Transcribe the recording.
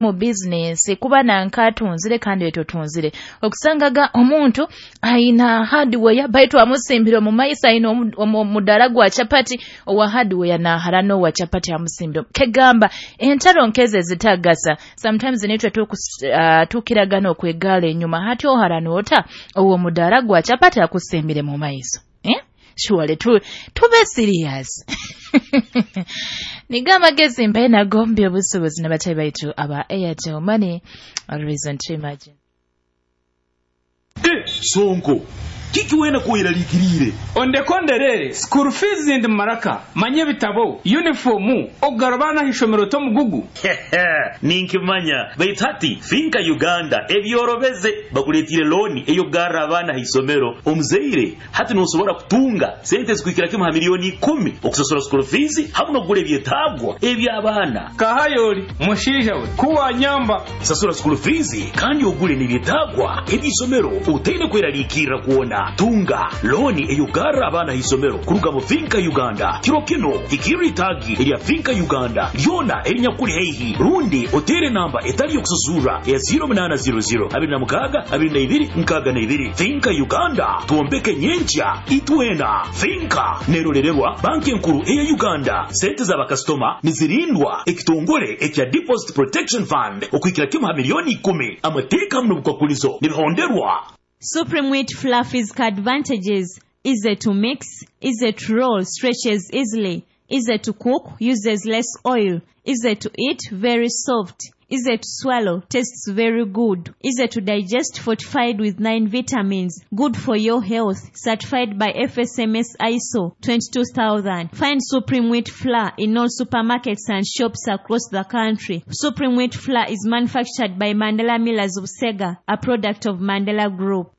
Mu bizinesi kuba nanka atunzire kandi itwe tunzire. Okusangaga omuntu aina hardware, baitu amusimbire omu maiso, aina omudara gwa chapati, owa hardware naharana owa chapati amusimbire. Kegamba entaro nkeze zitagasa. Sometimes nitwe tukiragana okwegala enyuma, hati oharana ota owo mudara gwa chapati akusimbire mu maiso, eh? Surely tube serious. Niga amagezi mbaye nago by'obusuubuzi n'abatayi baitu aba Airtel Money, a reason to imagine. Eh, Sonko, kiki wena kweraliikiriire? Ondeke onderere, school fees ndi maraka, manya ebitabo, uniform, okugarura abaana aha ishomero t'omugugu. Ninkimanya, baitu hati Finca Uganda ebyorobeze, bakuleetiire looni ey'okugarra abaana ha isomero. Omuzaire hati nosobora kutunga sente ezikuhikira kimu ha miliyoni 10 okusasura school fees hamu n'okugura ebyetaagwa eby'abaana. Kahayori, mushaija we, ku wanyamba. Sasura school fees kandi ogule n'ebyetaagwa eby'isomero otaine kweraliikirra kwona. Tunga looni ey'okugarra abaana ha isomero kuruga mu Finca Uganda. Kiro kino hikirra itaagi erya Finca Uganda lyona erinyakuli haihi, rundi oteere namba etali y'okusasurra eya 0800 26 22 62. Finca Uganda, twombeke nyenkya itwena. Finca nerolererwa Banki Enkuru eya Uganda. Sente z'abakasitoma nizirindwa ekitongole ekya Deposit Protection Fund okuhikira kimu ha miliyoni 10. Amateeka hamu n'obukwakulizo nibihonderwa. Supreme Wheat Flour physical advantages: easy to mix, easy to roll, stretches easily, easy to cook, uses less oil, easy to eat, very soft, easy to swallow, tastes very good, easy to digest, fortified with 9 vitamins, good for your health, certified by FSMS ISO 22000. Find Supreme Wheat Flour in all supermarkets and shops across the country. Supreme Wheat Flour is manufactured by Mandela Millers of Sega, a product of Mandela Group.